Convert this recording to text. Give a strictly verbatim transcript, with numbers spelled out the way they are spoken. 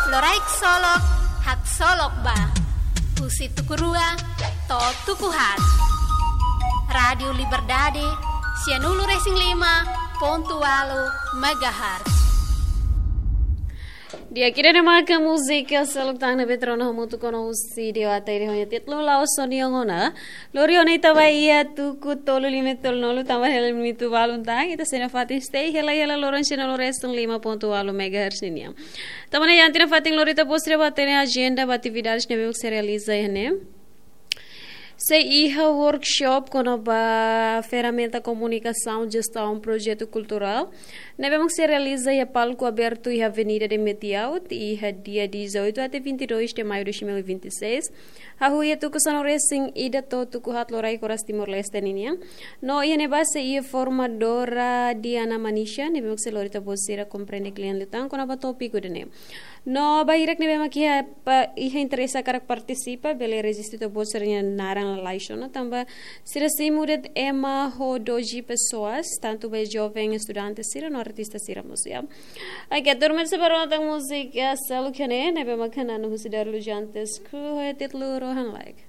Loraik solok, haksolok ba. Husi tuku rua to'o tuku haat. Rádiu Liberdade, sianulu-resin-lima pontu ualu megahertz. Di'ak, ida-ne'e maka múzika seluk tan ne'ebé rona hamutuk ona husi Dewa Tairi ho nia títulu La'ós Ó-Nia Ona. Lori ona ita ba iha tuku tolu lima tolu nulu tanba hela limitu balun tan, ita sei iha fatin stay hela hela loron sianulu-resin-lima pontu ualu megahertz ninian. Tanba ne'e iha ita-nia fatin lori ita-boot sira ba hatene ajenda ba atividades ne'ebé mak sei realiza iha ne'e. Sei iha workshop kona-ba ferramenta komunikasaun jestaun projetu kulturál ne'ebé mak sei realiza iha palku abertu iha Avenida de Metiaut, iha dia dezoito até vinte e dois de maio de dois mil e vinte e seis. Hahú iha tuku sanulu-resin-ida to'o tuku haat loraik oras Timor-Leste ninian. No iha ne'ebá sei iha formadora Diana Manisha, ne'ebé mak sei lori ita-boot sira komprende kle'an liután kona-ba tópiku ida-ne'e. No ba hirak ne'ebé mak iha pa-, iha interese hakarak partisipa, bele rejista ita-boot sira-nia naran lalais ona, tanba sira simu de'it ema ho doze pessoas, tantu ba joven estudante sira no artista sira mós, ya. Oke, turma, sei bá rona tan múzika seluk iha ne'e, ne'ebé mak hanesan husi Darlu Jantes, ho títulu Rohan Like.